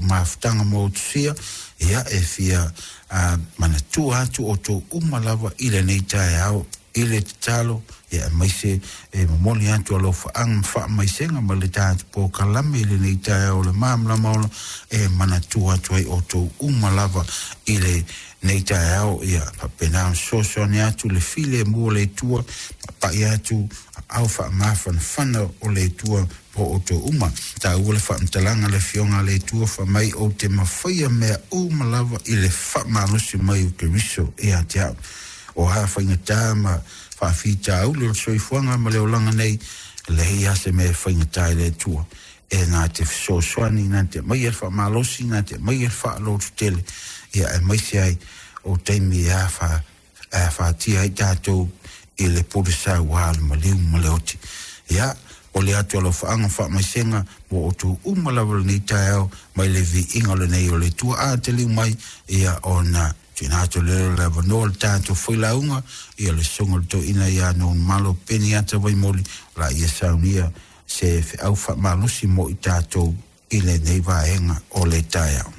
mafutaga mo utusia. Ia, e fia manatua atu outou uma lava i lenei taeao i le tatalo, ia aemaise e momoli atu alofaaga ma faamaisega ma le tatou polokalame i lenei taeao o le Malamalama Ola, e manatua atu ai outou uma lava i lenei taeao. Ia faapena ona fesoasoani atu le filemu o le Atua, papai atu aao faamafanafana o le Atua po outou uma. Taua le faamatalaga le Afioga a le Atua faamai, ou te mafaia mea uma lava i le faamalosi mai o Keriso ia te au. O a faigata ma faafitauli o le soifuaga ma le olaga nei, leai lava se mea e faigata i le Atua, e na te fesoasoani, na te aumaia le faamalosi, na te aumaia le faalototele, ia aemaise ai o taimi e afatia ai tatou i le pulesauā, le maliu ma le oti. Ia o le atu alofaaga faamaisega mo outou uma lava lenei taeao mai le viiga o lenei o le Atua. A taliu mai, ia ona tuuina atu lea o le avanoa le tatou failauga, ia le susuga o le toeaina ia Malo Peniata Vaimoli, o la ia saunia se feau faamalosi mo i tatou i lenei vaega o le taeao.